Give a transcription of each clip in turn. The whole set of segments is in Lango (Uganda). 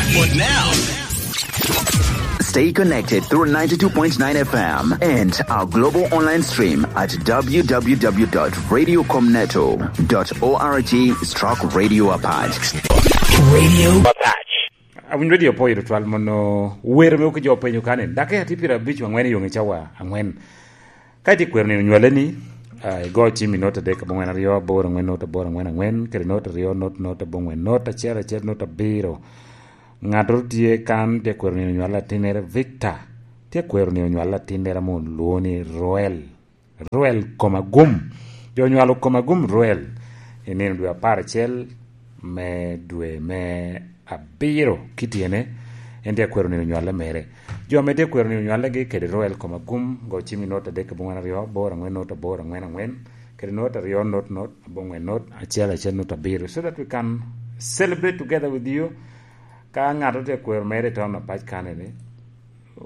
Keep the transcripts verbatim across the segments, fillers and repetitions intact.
But now, stay connected through ninety-two point nine F M and our global online stream at w w w dot radio com neto dot org stroke radio apac. Radio Apache. Awinyo redio opoyo tutwal mono wer me oki jo penyo kane. Dakika tye pyerabic wangwen i yong i cawa angwen. Ka itye kwero nino nywale ni, ah, igo cim i not adek abongwen aryo aboro angwen not aboro angwen angwen, kede not aryo not not abongwen not acel acel not abiro. Ŋattoro tye kan tye kwero nino nywale atinnere Victor. Tye kwero nino nywale atinnere ame olwoŋo ni Roel. Roel Komagum. Jo onywalo Komagum Roel i nino dwe apar acel me dwe me abiro kityene, en tye akwero nino nywale mere. Jo ame tye akwero nino nywalegi kede Roel Komagum, go cim i not adek abongwen aryo aboro angwen not aboro angwen angwen, kede not aryo not not abongwen not acel acel not abiro, so that we can celebrate together with you. Ka ŋat tye akwero mere i town apac kanene,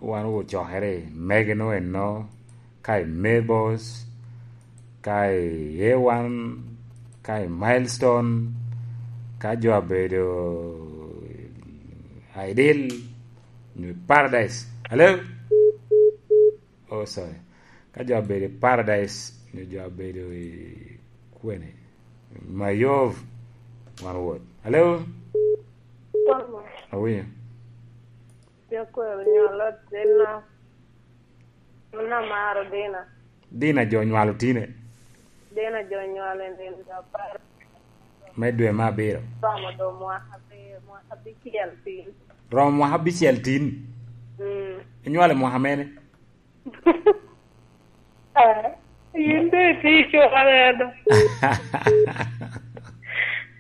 wan ocokere i Megino eno, ka i Mabels, ka i A one, ka i Milestone, ka jo abedo Ideal, nyo Paradise. Hello? Oh, sorry. Ka jo abedo i Paradise, nyo jo abedo i kwene? Mayov, wan wot. Hello? Thomas. Awinyo. Jakwero nyolo Dina. Mano amaro Dina. Dina jo nywalo tine. Dina jo nywalo i nino dwe apar. Me dwe me abiro. Romo do mwaka abiro, mwaka abicel tin. Romo mwaka abicel tin? Mm. Inywalo i mwaka mene? Eh, yin be itye i cuk areno.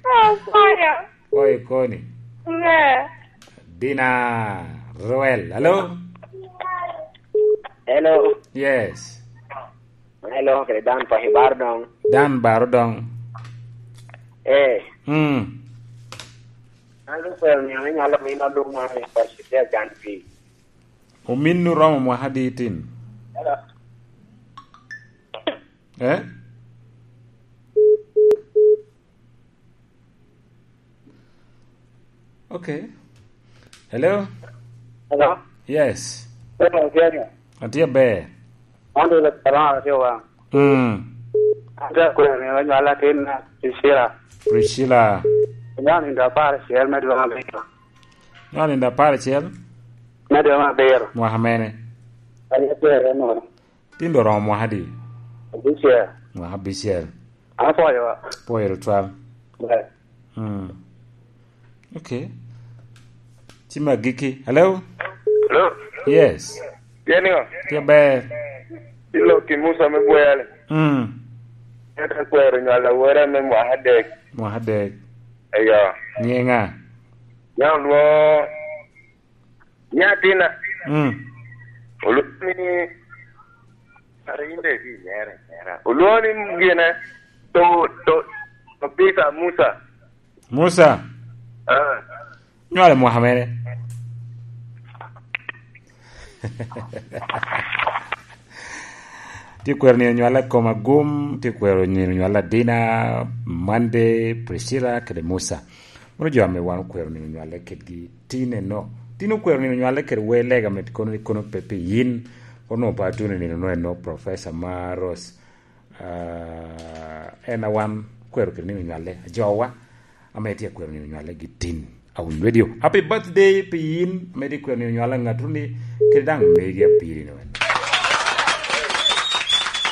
Akwaya. Oyo koni. Ber. Dina Roel. Hello? Hello. Yes. Hello, kede Dan pa Hibar dong. Dan Baro dong. Eh. Mm. An akwero ni ame nyalo mino lum mare pa City Acan Pi. Ominnu romo mwaka adi itin? Hello. Eh? Okay. Hello? Hello? Yes. Hello, Jerry. Atye ber. An dolo Carolina, atye wa. Mm. An dok akwero ni onywal atin na Priscilla. Priscilla. Onywal nindo apar acel me dwe me abiro. Onywal nindo apar acel? Me dwe me abiro. Mwaka mene? An akwero ni. Tin dong oromo mwaka adi? Abicel. Mwaka abicel. Apwoyo wa. Pwoyo tutwal. Ber. Mm. Okay. Cim agikki. Hello? Hello? Yes. Tye niŋo? Tye ber. Iloki Musa me Bweyale. Mm. Ento akwero nywal awora me mwaka adek. Mwaka adek. Eyo. Nyiŋa? Nyaŋ olwoŋo nyatina. Mm. Olwoŋo ni, kara in dek inyera, inyera. Olwoŋo ni gine, to, to, to Peter Musa. Musa? Ah. Nywalo i mwaka mene? Tye kwero ni onywalla Komagum, tye kwero ni onywalla Dina, Monday, Priscilla, kede Musa. Mano jo ame wan okwero ni onywalla kedgi tin eno. Tin okwero ni onywalla kede wer lega med kono ni kono pe pi yin, kono onwoŋo pe atuno nino no eno, Professor Maros. Ah, en a wan kwero kede nino nywale, ajowa, ame tye akwero nino nywale gi tin. Awiny Radio. Happy birthday pi yin, ame tye kwero nino nywale ŋatuni, kede daŋ megi apiri ni wene.